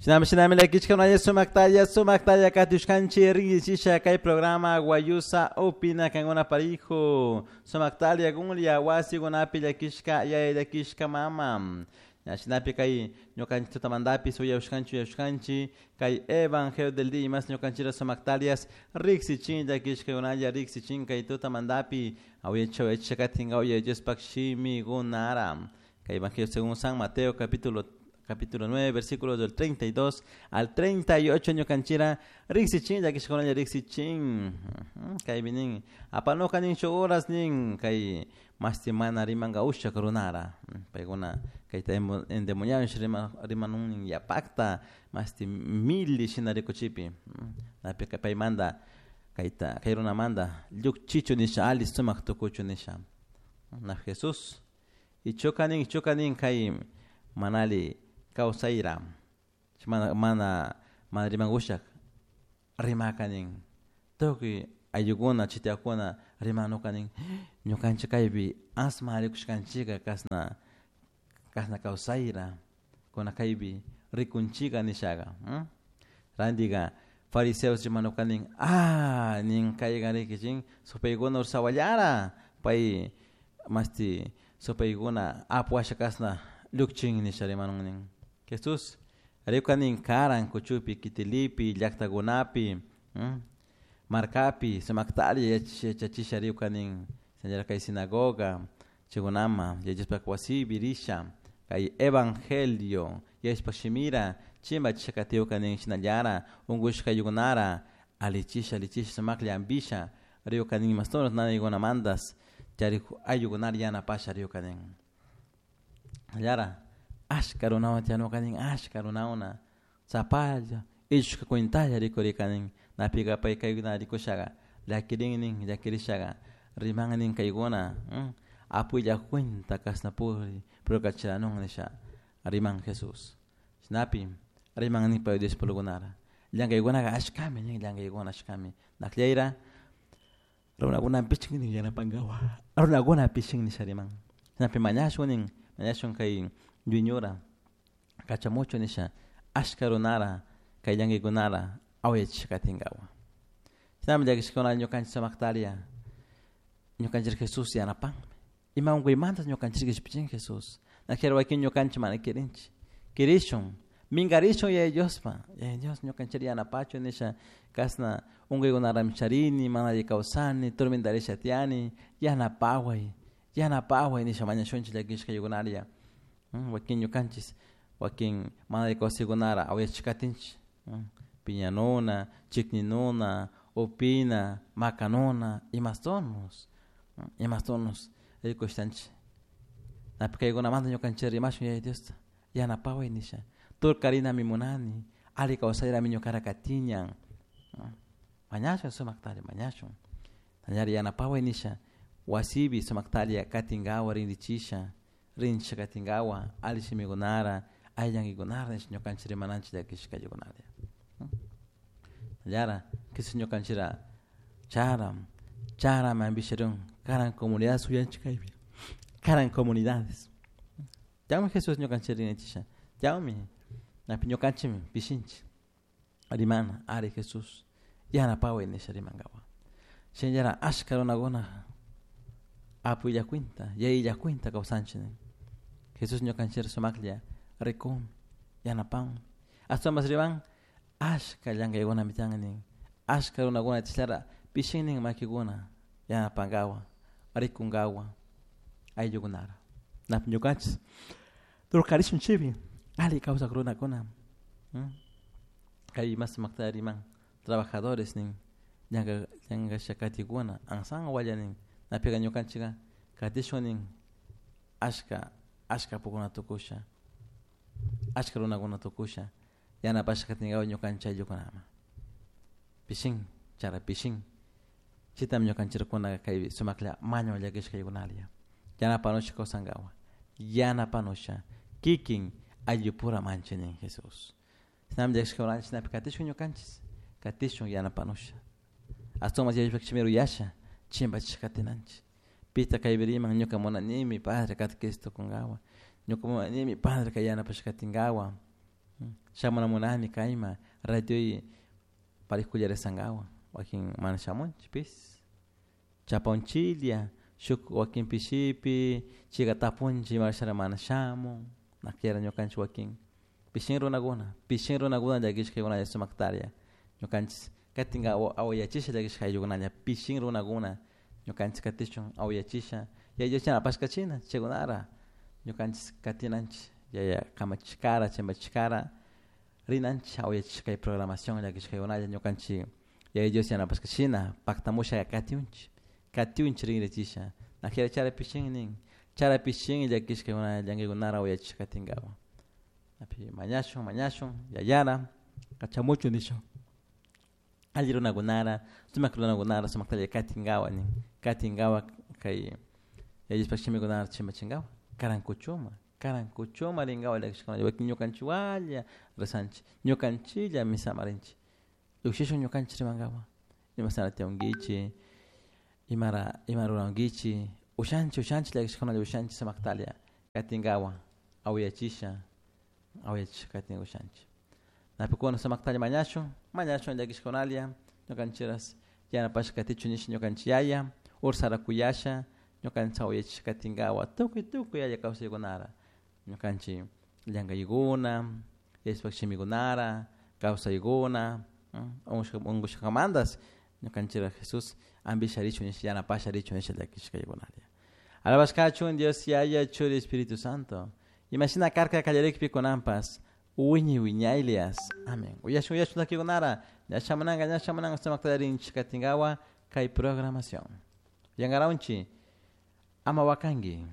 Shinami shinami llakichka sumaktalla sumaktalla katushkanchik rinrichisha kay programa Guayusa Opina kankuna parijo sumaktalla kunlla wasikunapi llakishka yaya llakishka mama. Shinapi kay ñukanchik tutamantapish uyawashkanchik uyawashkanchik kay Evangelio del día mas ñukanchikra sumaktalias riksichin llakishkakunalla riksichin kay tutamantapi uyacha uyacha katinka uya Diospak shimikunara. Kay Evangelio según San Mateo capítulo 9, versículos del 32 al 38 ñukanchira riksichin llakishkakunalla riksichin. Kaypi nin apanuka nin shuk horas nin kay mashti mana rimanka ushak runara paykuna kayta endemoniado rimanun nin yapakta mashti mili shina rikuchipi napika paymanta kayta kay runamanta llukchichu nisha ali sumak tukuchu nisha. Na Jesús ichuka nin kay manali kawsayra mana mana mana rimankushak rimaka nin tukuy ayllukuna chitiyakuna rimanuka nin ñukanchik kaypi asma rikushkanchika kasna kasna kawsayra kuna kaypi rikunchika nishaka. Rantika fariseos rimanuka nin ah nin kayka rikichin supaykuna ursawallara pay mashti supaykuna apu washa kasna llukchin nisha rimanun nin. Jesús rikuka nin karan kuchupi kitilipi llaktakunapi markapi sumaktalla yachachisha rikuka nin señora kay sinagoga chaykunama yachashpa wasipi risha kay evangelio yachashpa shimira chimbachisha katiwka nin shinallara unkushka ayllukunara alichisha alichisha sumaklla ampisha rikuka nin mastonos nanaykunamantas charik ayllukunara yanapasha rikuka nin. Llara ashka runawan tiyanuka nin ashka runawna sapalla illushka cuentalla rikurika nin napika pay kaykuna rikushaka llakirin nin llakirishaka riman nin kaykuna apulla cuenta kasna puri prokachanun nisha riman Jesús. Shinapi riman nin pay discipulukunara llankaykunaka ashkami nin llankaykuna ashkami nakllayra runakuna pichin nin yanapankawa runakuna pichin nisha riman. Shinapi mañashun nin mañashun kay dueñora kachamuchu nisha ashka runara kay llankaykunara awayachisha katinkawa. Shinami llakishkuna ñukanchik sumaktaria ñukanchik Jesús yanapanmi ima unkuymantas ñukanchik kishpichin Jesús. Nakera wakin ñukanchik mana kirinchik kirishun minkarishun Yaya Diospa Yaya Dios ñukanchik yanapachu nisha kasna unkuykunarami charini mana alli kawsani tormentarisha tiyani yanapaway yanapaway nisha mañashunchik llakishka ayllukunaria. Wakin ñukanchik wakin mana alli kawsaykunara awayachik katinchik piñanuna chikninuna upina makanuna imastonos imastonos rikushtanchik napi kaykunamanta ñukanchik rimashun Yaya Diosta yanapaway nisha turkarinami munani alli kawsayrami ñukara katiñan mañashun sumaktalla mañashun ñari yanapaway nisha wasipi sumaktalla katinkawa rinrichisha rinchisha katinkawa alli shimikunara alli llankaykunara nisha ñukanchik rimananchik llakishka ayllukunara. Llara Jesús ñukanchikra chara charami ampisharun karan comunidades uyanchik kaypi karan comunidades chaymi Jesús ñukanchik rinrichisha chaymi napi ñukanchikmi pishinchik rimana ari Jesús yanapaway nisha rimankawa. Shinallara ashka runakuna apulla cuenta yayilla cuenta kawsanchik nin. Jesús ñukanchik sumaklla rikun yanapan ashtawanpas riman ashka llankaykunami tiyan nin ashka runakuna chaylara pishin nin makikuna yanapankawa rikunkawa ayllukunara. Napi ñukanchik turkarishun chaypi alli kawsak runakuna kay mas sumakta riman trabajadores nin llankasha katikuna ansan walla nin napika ñukanchika katishun nin ashka ashka apukuna tukusha ashka runakuna tukusha yanapasha katinkawa ñukanchik ayllukunama pishin chara pishin chitami ñukanchikuna kay sumaklla maño llakishka ayllukunalla yanapanusha kawsankawa yanapanusha kikin ayllupura manchik nin Jesús. Shinami llakishka shinapi katishun ñukanchik katishun yanapanusha ashtawanmas yayashpa shimi uyasha chimpachisha katinanchik pita kaypi riman ñuka munanimi padre catequista tukunkawa ñuka munanimi padre kay yanapasha katinkawa. Shamuna munani kayma radio parikulla rezangawa wakin mana shamunchik pis chapaunchilia shuk wakin pishipi chika tapunchik imashara mana shamun nakiara ñukanchik wakin pishin runakuna llakishkaykunalla sumaktaria ñukanchik katinka awayachisha llakishka ayllukunalla pishin runakuna ñukanchik katishun awayachisha yaya Dios yanapashkachina chaykunara ñukanchik katinanchik yaya kamachishkara chimpachishkara rinanchik awayachishka kay programación llakishkaykunalla ñukanchik yaya Dios yanapashkachina paktamusha katiunchik katiunchik rinrichisha najera chara pishin nin chara pishin llakishkaykuna llankaykunara awayachisha katinkawa api mañashun mañashun yayara kachamuchun nishun alli runakunara sumak runakunara sumaktalla katinkawa nin katinkawa kay yaya Diospak shimikunara chimpachinkawa karankuchuma karankuchuma rinkawa llakishkuna wakin ñukanchikwalla rezanchik ñukanchilla misama rinchik llukshishun ñukanchik rimankawa imashnara tiyankichik imara ima rurankichik ushanchik ushanchik llakishkunalla ushanchik sumaktalla katinkawa awayachisha awayachisha katin ushanchik napikuna sumaktalla mañashun mañashun llakishkunalla ñukanchikras yanapashka katichun nisha ñukanchik yaya ursara kuyasha ñukanchik awayachisha katinkawa tukuy tukuy alli kawsaykunara ñukanchik llankaykuna Diospak shimikunara kawsaykuna unkushkamantas ñukanchikra Jesús ampisha richun nisha yanapasha richun nisha llakishkaykunalla alabashkachun Dios Yaya Churi Espíritu Santo imashina karka kallarikpi kunanpas wiñay wiñaylias amén uyashun uyashun llakikunara ña shamunanka ña shamunanka sumakta rinchik katinkawa kay programación yankarawunchik ama wakanki.